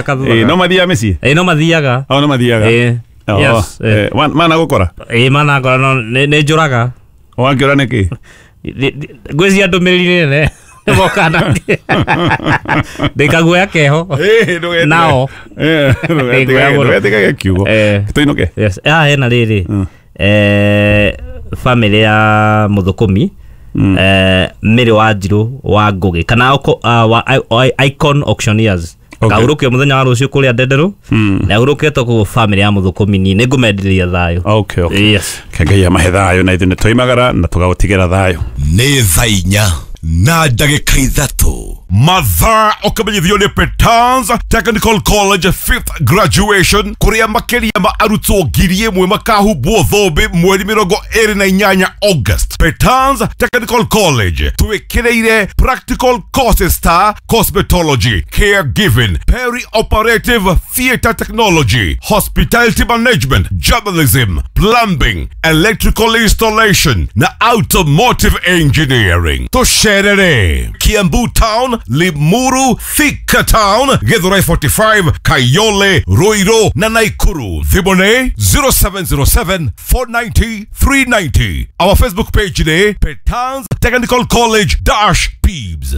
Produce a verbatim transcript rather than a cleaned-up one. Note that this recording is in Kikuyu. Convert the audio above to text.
Ĩ, no mathiaga mĩciĩ? Ĩ, no mathiaga. Au no mathiaga. Ĩ. Oh, Yes, ĩ. eh, wa- mana gũkora. Ĩ, manakora no nĩ nĩ njũraga. Wakĩũra nĩkĩ? Ngwĩcia ndũmĩrĩri nene mokana ndĩkaguoya keho. Ĩ, ndũgetige- Nao. Eh, ndũgetige- Ndĩguoya mũno. ndũgetige kiugo. Eh. Tũinũke. Yes, haha hena rĩrĩ, eh, family ya mũthũkũmi, eh, Mary Wanjirũ wa Ngũgĩ kana oko- ah, wa I- I- Icon Auctioneers. Okay. Kahurũkio mũthenya wa rũciũ kũrĩa Ndenderũ na ahurũkĩtwo kũu family ya mũthũkũmi. Niĩ nĩngũmenderia thayũ. Okay, okay. Yes. Ke Ngai amahe thayũ, na ithuĩ nĩ twoimagara na tũgagũtigĩra thayũ. Nĩ thaa inya na ndagĩka ithatũ. Mathaa ũkamenyithio nĩ Petans Technical College fifth graduation, kũrĩa makĩria ma arutwo ngiri ĩmwe makahumbwo thũmbĩ mweri mĩrongo ĩrĩ na inyanya August. Petans Technical College twĩkĩrĩire practical courses ta cosmetology, caregiving, peri-operative theatre technology, hospitality management, journalism, plumbing, electrical installation na automotive engineering. Tũcerere Kiambu Town, Limuru, Thika Town, Githurai forty-five, Kayole, Ruiru na Naikuru. Thimũ nĩ zero seven zero seven four nine zero three nine zero. Our Facebook page nĩ Petans Technical College dash Pibs.